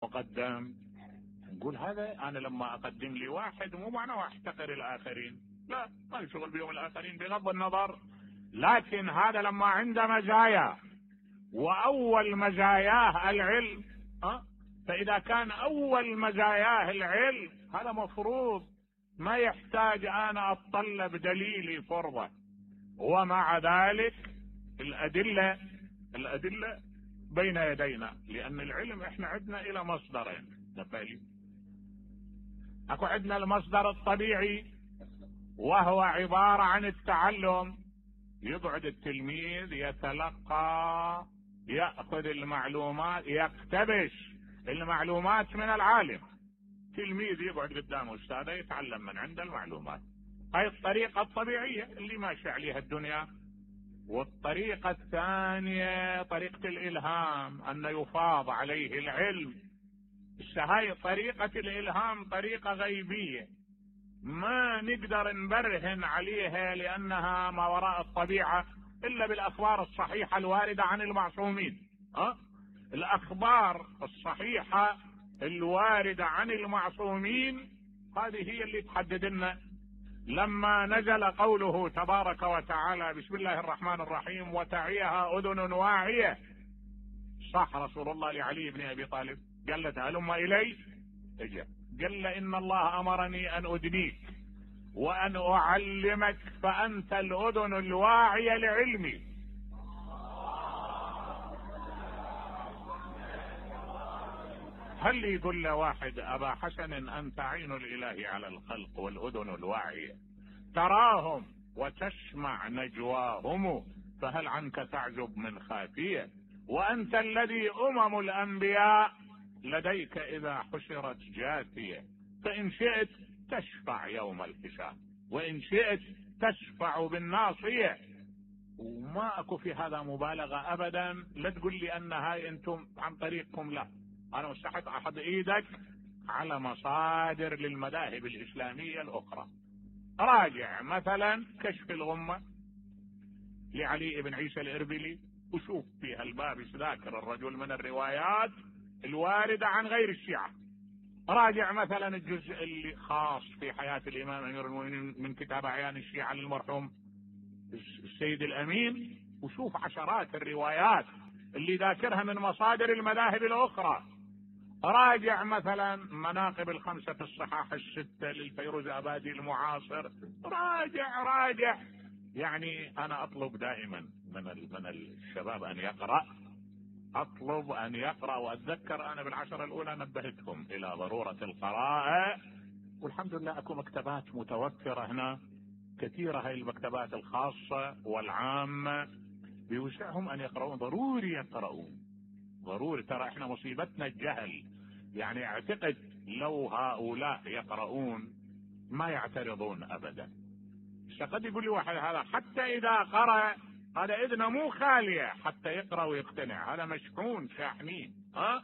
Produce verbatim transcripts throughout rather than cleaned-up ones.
مقدم. نقول هذا انا لما اقدم لي واحد مو معناه احتقر الاخرين، لا، ما يشغل بهم الاخرين بغض النظر، لكن هذا لما عنده مزايا واول مزاياه العلم، أه؟ فاذا كان اول مزاياه العلم هذا مفروض ما يحتاج انا اتطلب دليلي فرضه. ومع ذلك الادله الادله بين يدينا، لان العلم احنا عندنا الى مصدرين نبالي. اكو عندنا المصدر الطبيعي وهو عباره عن التعلم، يقعد التلميذ يتلقى، ياخذ المعلومات، يقتبس المعلومات من العالم. تلميذ يقعد قدام استاذه يتعلم من عنده المعلومات، هاي الطريقه الطبيعيه اللي ماشي عليها الدنيا. والطريقه الثانيه طريقه الالهام، ان يفاض عليه العلم. هاي طريقه الالهام طريقه غيبيه ما نقدر نبرهن عليها لانها ما وراء الطبيعه الا بالاخبار الصحيحه الوارده عن المعصومين. أه؟ الاخبار الصحيحه الوارده عن المعصومين هذه هي اللي تحدد لنا. لما نزل قوله تبارك وتعالى بسم الله الرحمن الرحيم وتعيها اذن واعيه، صح رسول الله لعلي بن ابي طالب قال له هلم الي، اجا قال له ان الله امرني ان ادنيك وان اعلمك فانت الاذن الواعيه لعلمي. هل يقول له واحد ابا حسن انت عين الاله على الخلق والاذن الواعيه، تراهم وتسمع نجواهم، فهل عنك تعجب من خافيه، وانت الذي امم الانبياء لديك اذا حشرت جاثيه، فان شئت تشفع يوم الحساب وان شئت تشفع بالناصيه. وما اكو في هذا مبالغه ابدا. لا تقول لي ان هاي انتم عن طريقكم، لا، انا مستحق احط ايدك على مصادر للمذاهب الاسلاميه الاخرى. راجع مثلا كشف الغمه لعلي بن عيسى الاربلي وشوف في هالباب ذاكر الرجل من الروايات الوارده عن غير الشيعه. راجع مثلا الجزء اللي خاص في حياه الامام امير المؤمنين من كتاب اعيان الشيعه للمرحوم السيد الامين، وشوف عشرات الروايات اللي ذاكرها من مصادر المذاهب الاخرى. راجع مثلا مناقب الخمسه في الصحاح السته للفيروز ابادي المعاصر. راجع راجع يعني انا اطلب دائما من من الشباب ان يقرا، اطلب ان يقرا. واتذكر انا بالعشره الاولى نبهتهم الى ضروره القراءه، والحمد لله اكو مكتبات متوفره هنا كثيره. هاي المكتبات الخاصه والعامه بوسعهم ان يقرؤون، ضروري يقرؤون ضروري. ترى احنا مصيبتنا الجهل، يعني اعتقد لو هؤلاء يقرؤون ما يعترضون ابدا. قد يقول لي واحد هذا حتى اذا قرأ هذا اذنه مو خاليه حتى يقرأ ويقتنع، هذا مشحون شاحنين، ها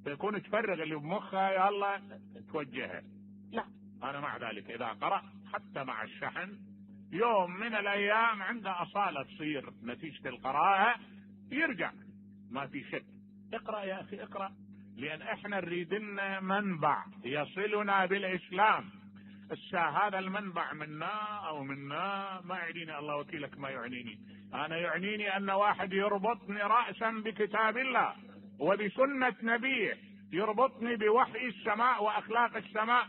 فيكون تفرغ اللي بمخه يلا توجهه. لا، انا مع ذلك اذا قرأ حتى مع الشحن يوم من الايام عنده اصالة تصير نتيجة القراءة يرجع، ما في شك. اقرأ يا اخي اقرأ، لان احنا نريد لنا منبع يصلنا بالاسلام. هذا المنبع منا او منا ما يعنيني، الله وكيلك ما يعنيني. انا يعنيني ان واحد يربطني رأسا بكتاب الله وبسنة نبيه، يربطني بوحي السماء واخلاق السماء.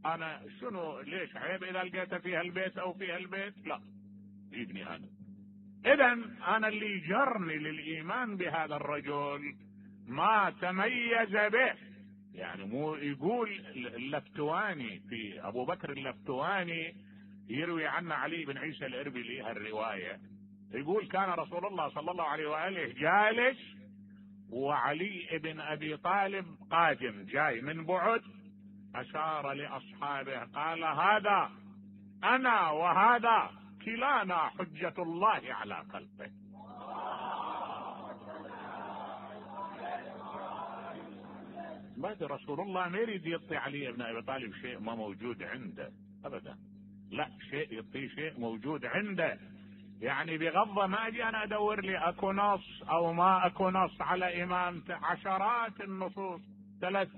انا شنو ليش عيب اذا لقيته في هالبيت او في هالبيت؟ لا، يجيبني انا. اذا انا اللي جرني للايمان بهذا الرجل ما تميز به. يعني مو يقول اللفتواني في ابو بكر اللفتواني يروي عنه علي بن عيسى الاربلي هالروايه، يقول كان رسول الله صلى الله عليه واله جالس وعلي بن ابي طالب قادم جاي من بعد، اشار لاصحابه قال هذا انا وهذا كلانا حجة الله على خلقه. بعد رسول الله ما يريد يعطي علي بن ابي طالب شيء ما موجود عنده ابدا، لا، شيء يعطيه شيء موجود عنده. يعني بغض ما اجي انا ادور لي اكو نص او ما اكو نص على امامته، عشرات النصوص ثلاث